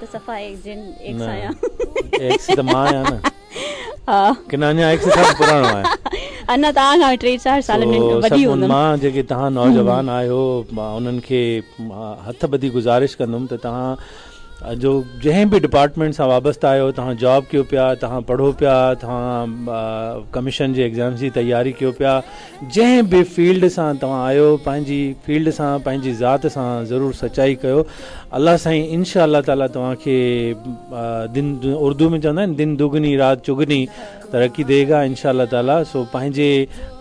ته صفا ايڪ جن ايڪس نه آهيان. ايڪس ته مان آهيان نه. ها. ڪن اڃا ايڪس کان به پراڻو آهيان. اڃا توهان کان 3 4 سال سو وڏي سڀ هوندم. مان جيڪي توهان نوجوان آهيو مان انهن کي هٿ ٻڌي گذارش ڪندم ته توهان جو جنهن به ڊپارٽمينٽ سان وابسته آهيو توهان جاب ڪيو پيا توهان پڙهو پيا توهان ڪميشن جي ايگزامس جي تياري ڪيو پيا جنهن به فيلڊ سان توهان آهيو پنهنجي فيلڊ سان پنهنجي ذات سان ضرور سچائي ڪيو الله سائين انشاء الله تعالي توهان کي دن اردو ۾ چوندا آهن دن دگني رات چگني ترقي the گا انشاء الله تعالي سو پنهنجي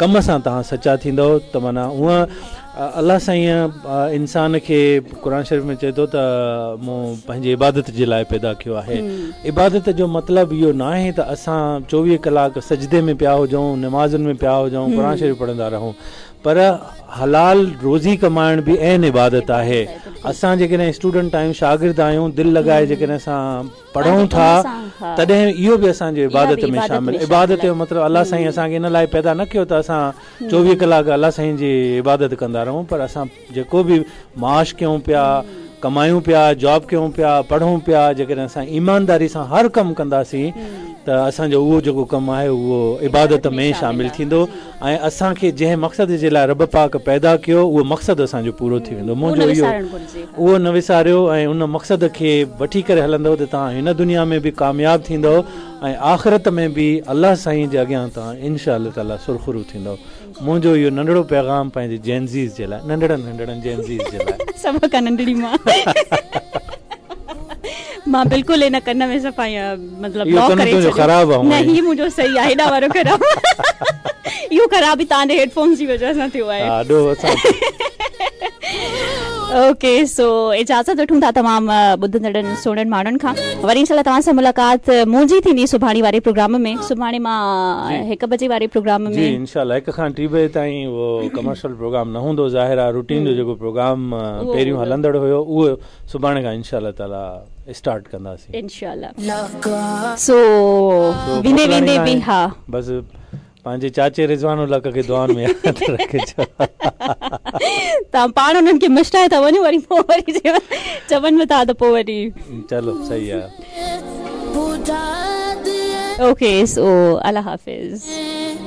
ڪم سان توهان سچا ٿيندؤ ته معنيٰ هونء الله سائين انسان کي قرآن شريف ۾ چئي ٿو ته مون پنهنجي عبادت جي لاء پيدا ڪيو آهي عبادت جو مطلب اهو ناهي ته اسان 24 ڪلاڪ سجدي ۾ پيا هجون نمازن ۾ پيا هجون قرآن شريف پڙهندا رهون پر حلال روزي ڪمائڻ به عين عبادت آهي اسان جيڪڏهن اسٽوڊنٽ آهيون شاگرد آهيون دل لڳائي جيڪڏهن اسان پڙهون ٿا تڏهن اهو به اسان جي عبادت ۾ شامل عبادت جو مطلب الله سائين اسان کي ان لاء پيدا نه ڪيو ته اسان 24 ڪلاڪ الله سائين جي عبادت ڪندا رهون پر اسان جيڪو به معاش ڪيون پيا، ڪمايون پيا، جاب ڪيون پيا، پڙهون پيا، جيڪڏهن اسان ايمانداري سان هر ڪم ڪنداسين ته اسان جو اهو جيڪو ڪم آهي اهو عبادت ۾ شامل ٿيندو ۽ اسان کي جنهن مقصد جي لاء رب پاڪ پيدا ڪيو اهو مقصد اسان جو پورو ٿي ويندو. منهنجو اهو اهو نه وساريو ۽ ان مقصد کي وٺي ڪري هلندؤ ته توهان هن دنيا ۾ به ڪامياب ٿيندؤ ۽ آخرت ۾ به الله سائين جي اڳيان توهان انشاء الله تعاليٰ سرخرو ٿيندؤ. منهنجو اهو ننڍڙو پيغام پنهنجي جين زيز جي لاء، ننڍڙن ننڍڙن جين زيز جي لاء. سڀ کان ننڍڙي مان. مان بلڪل ان ڪن ۾ صفا ائين مطلب اهو بلاڪ ڪن ڪري تنهنجو ڇڏيو. خراب آ نه هونئن ئي. هي منهنجو صحيح آ هيڏانهن وارو خراب اهو خراب به توهان جي هيڊ فونز جي وجهه سان ٿيو آهي. ها ڏوهه اسان تي. اوڪي سو اجازت وٺون ٿا تمام ٻڌندڙن سهڻن ماڻهن کان وري انشاء الله توهان سان ملاقات منهنجي ٿيندي سڀاڻي واري پروگرام ۾ سڀاڻي مان هڪ بجي واري پروگرام ۾. جي انشاء الله هڪ کان ٽي بجي تائين اهو ڪمرشل پروگرام نه هوندو ظاهر آهي روٽين جو جيڪو پروگرام پهريون هلندڙ هيو اهو سڀاڻي کان انشاء الله تعالي اسٽارٽ ڪنداسين. انشاء الله سو ويندي ويندي به ها. بس پنهنجي چاچي رضوان الحق کي دعائن ۾ ياد رکجو. توهان پاڻ انهن کي مشرائي ٿا وڃو وري پوء وري چون به ٿا ته پوء وري. چلو صحيح آ. اوڪي سو الله حافظ.